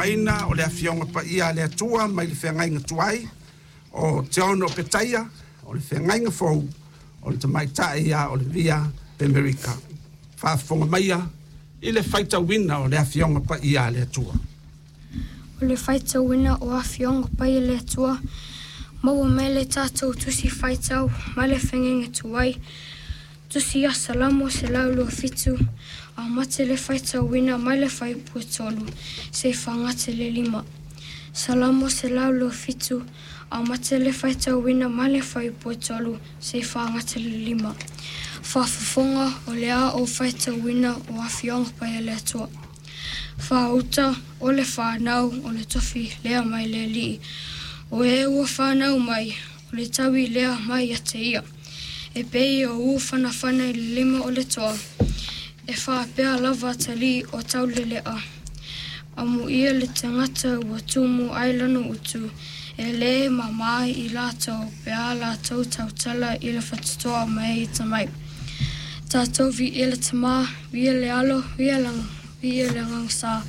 faafofogaina o le Afioga Paia a le Atua mai le Feagaiga Tuai o Teono Petaia, o le Feagaiga Fou o le Tamaitai ia Olivia Pemerika. Faafofoga maia i le faitauina o le Afioga Paia a le Atua. O le faitauina o Afioga Paia a le Atua, maua mai le tatou tusi faitau mai le Feagaiga Tuai, tusi ia Salamo 127, amata le faitauina mai le fuaiupu e 3 seia fagata i le 5. Salamo 127, amata le faitauina mai le fuaiupu e 3 seia fagata i le 5. Faafofoga o le a ou faitauina o Afioga Paia a le Atua. Faauta o le fanau o le tofi lea mai le Alii. O e ua fanau mai, o le taui lea mai ia te ia. E pei o ū fanafana i le lima o le toa, e faapea lava atalii o taulelea. Amuia le tagata ua tumu ai lana utu, e le māmā i latou pe a latou tautala i le faitotoa ma e atamai. Tatou viia le Tama, viia le Alo, viia le Agaga Sa.